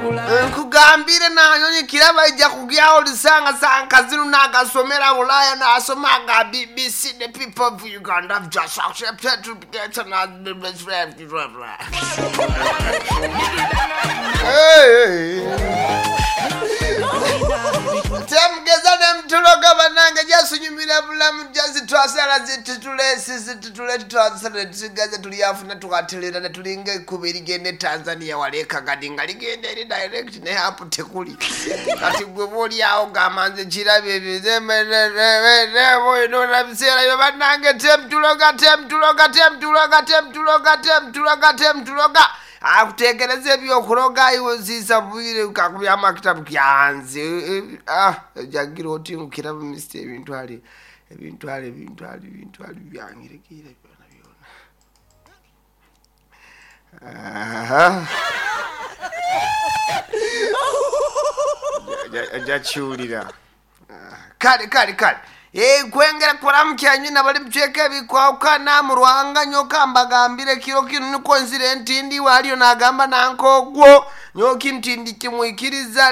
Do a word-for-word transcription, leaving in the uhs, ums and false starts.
Nkugambire nanyonyi kiraba ijja kugyawo lisanga sankazinu nagasomera Bulaya nasoma aga B B C. The people of Uganda have just accepted to be Hey. Temugeza nemutuloga bannange, jasunyumira bulamu jazitwasala zitutulesi zitutule twasala tusigaze tulyafuna tukatelera ne tulinga ekkubo erigenda e Tanzania wali e Kagadi nga ligenda eri direct ne apu tekuli. Kati gwe bw'oli awo gamba nze kirabye ebyo biseera byo bannange, temutuloga temutuloga temutuloga temutuloga temutuloga temutuloga akuteekereza ebyokuloga iwe nsiisa bwire kakubya kitabu kyanze. Ah, jagira oti nkiraba misita ebintu ali ebintu ali ebintu ali ebintu ali byangirekeire byona byona. Aha. Ajja kiwulira. Kale kale kale. Eh, kwengera kuramukya nyina bali muceka ebikwawukana mu Rwanga nyoka mbagambire kiro kino niko nzire ntindi waliyo nagamba nankogwo nyoki ntindi kimwikiriza.